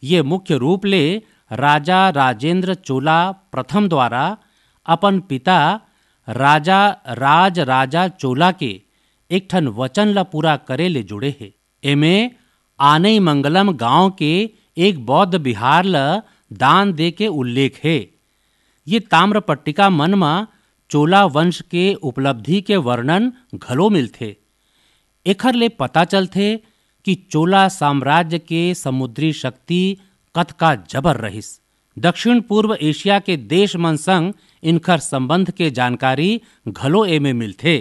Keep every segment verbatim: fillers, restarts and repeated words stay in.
ये मुख्य रूप ले राजा राजेंद्र चोला प्रथम द्वारा अपन पिता राजा राज राजा चोला के एक ठन वचन ल पूरा करे ले जुड़े हे। एमे आनई मंगलम गांव के एक बौद्ध विहार ल दान दे के उल्लेख हे। ये ताम्र पट्टिका मन म चोला वंश के उपलब्धि के वर्णन घलो मिलथे। एखर ले पता चलथे कि चोला साम्राज्य के समुद्री शक्ति कतका जबर रहिस। दक्षिण पूर्व एशिया के देश मन संग इनखर संबंध के जानकारी घलो एमे मिलथे।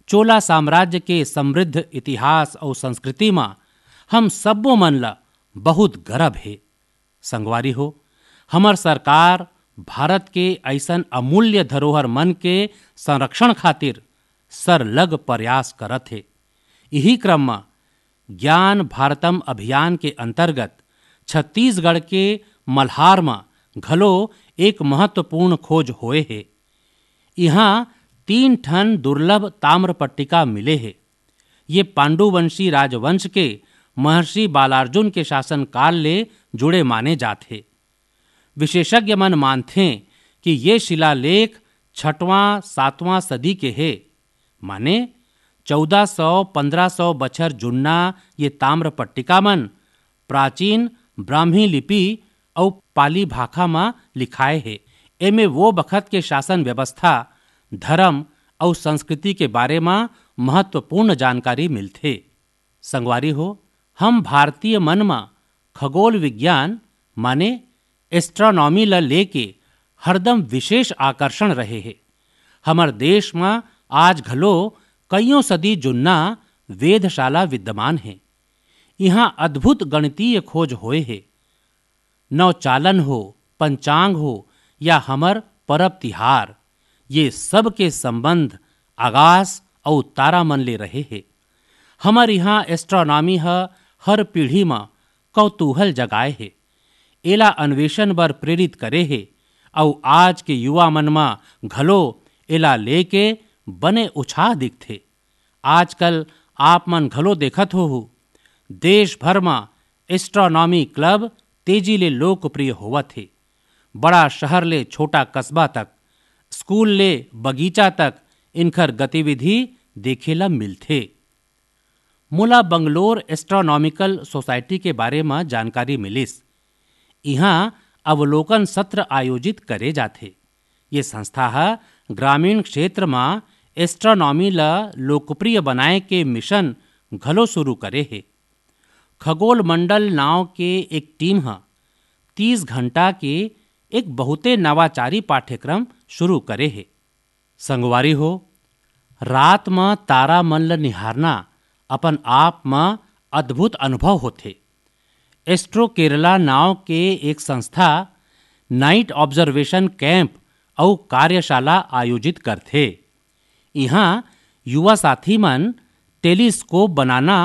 चोला साम्राज्य के समृद्ध इतिहास अउ संस्कृति म हम सब्बो मन ल बहुत गरब हे। संगवारी हो, हमर सरकार भारत के अइसन अमूल्य धरोहर मन के संरक्षण खातिर सरलग प्रयास करत हे। इही क्रम म ज्ञान भारतम अभियान के अंतर्गत छत्तीसगढ़ के मल्हार म घलो एक महत्वपूर्ण खोज होए हे। इहाँ तीन ठन दुर्लभ ताम्र पट्टिका मिले हे। ये पांडुवंशी राजवंश के महर्षि बालार्जुन के शासनकाल ले जुड़े माने जात हे। विशेषज्ञ मन मानथें कि ये शिलालेख छठवां, सातवां सदी के हे, माने चौदह सौ, पन्द्रह सौ बछर जुन्ना ये ताम्र पट्टिका मन प्राचीन ब्राह्मी लिपि अउ पाली भाखा म लिखाए हे। एमे वो बखत के शासन व्यवस्था, धर्म अउ संस्कृति के बारे म महत्वपूर्ण जानकारी मिलथे। संगवारी हो, हम भारतीय मन म खगोल विज्ञान माने एस्ट्रोनॉमी ल लेके हरदम विशेष आकर्षण रहे हे। हमर देश म आज घलो कइयों सदी जुन्ना वेधशाला विद्यमान हे। इहाँ अद्भुत गणितीय खोज होए हे। नवचालन हो, पंचांग हो या हमर परब तिहार, ये सब के संबंध आकाश अउ तारा मन ले रहे हे। हमर इहाँ एस्ट्रोनॉमी ह हर पीढ़ी म कौतूहल जगाए हे, एला अन्वेषण बर प्रेरित करे हे, अउ आज के युवा मन म घलो एला लेके बने उछाह दिखथे। आजकल आप मन घलो देखत होहू, देश भर म एस्ट्रोनॉमी क्लब तेजी ले लोकप्रिय होवत हे। बड़ा शहर ले छोटा कस्बा तक, स्कूल ले बगीचा तक इनखर गतिविधि देखे ल मिलथे। मोला बंगलोर एस्ट्रोनॉमिकल सोसाइटी के बारे म जानकारी मिलिस। इहाँ अवलोकन सत्र आयोजित करे जाथे। ये संस्था ह ग्रामीण क्षेत्र म एस्ट्रोनॉमी ल लोकप्रिय बनाए के मिशन घलो शुरू करे हे। खगोल मंडल नांव के एक टीम ह तीस घंटा के एक बहुते नवाचारी पाठ्यक्रम शुरू करे हे। संगवारी हो, रात म तारा मन ल निहारना अपन आप म अद्भुत अनुभव होथे। एस्ट्रो केरला नांव के एक संस्था नाइट ऑब्जर्वेशन कैंप अउ कार्यशाला आयोजित करथे। इहाँ युवा साथी मन टेलीस्कोप बनाना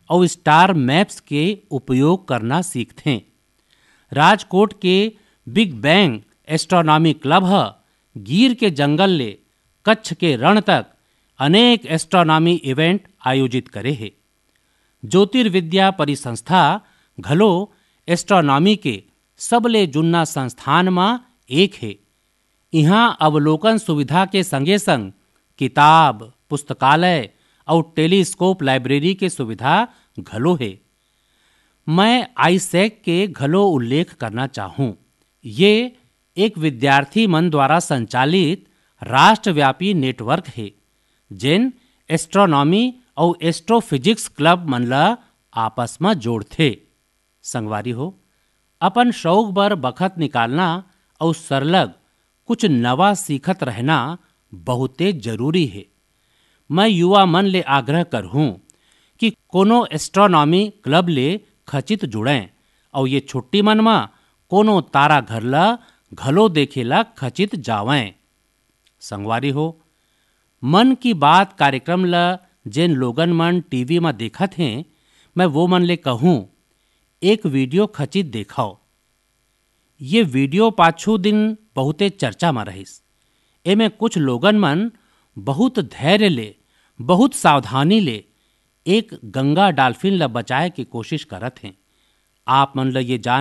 अउ स्टार मैप्स के उपयोग करना सीखथें। राजकोट के बिग बैंग एस्ट्रोनॉमी क्लब ह गिर के जंगल ले कच्छ के रण तक अनेक एस्ट्रोनॉमी इवेंट आयोजित करे हे। ज्योतिर्विद्या परिसंस्था घलो एस्ट्रोनॉमी के सबले जुन्ना संस्थान म एक हे। इहाँ अवलोकन सुविधा के संगे-संग किताब, पुस्तकालय अउ टेलीस्कोप लाइब्रेरी के सुविधा घलो हे। मैं आईसैक के घलो उल्लेख करना चाहूँ। ये एक विद्यार्थी मन द्वारा संचालित राष्ट्रव्यापी नेटवर्क हे, जेन एस्ट्रोनॉमी अउ एस्ट्रोफिजिक्स क्लब मन ल आपस म जोड़थे। संगवारी हो, अपन शौक बर बखत निकालना अउ सरलग कुछ नवा सीखत रहना बहुते जरूरी हे। मैं युवा मन ले आग्रह करहूँ कि कोनो एस्ट्रोनॉमी क्लब ले खचित जुड़ें अउ ये छुट्टी मन म कोनो तारा घर ल घलो देखे ल खचित जावंय। संगवारी हो, मन की बात कार्यक्रम ल जेन लोगन मन टीवी म देखत हें, मैं वो मन ले कहूँ, एक वीडियो खचित देखव। ये वीडियो पाछू दिन बहुते चर्चा म रहिस। एमे कुछ लोगन मन बहुत धैर्य ले, बहुत सावधानी ले एक गंगा डाल्फिन ल बचाए के कोशिश करत हें। आप मन ल ये जान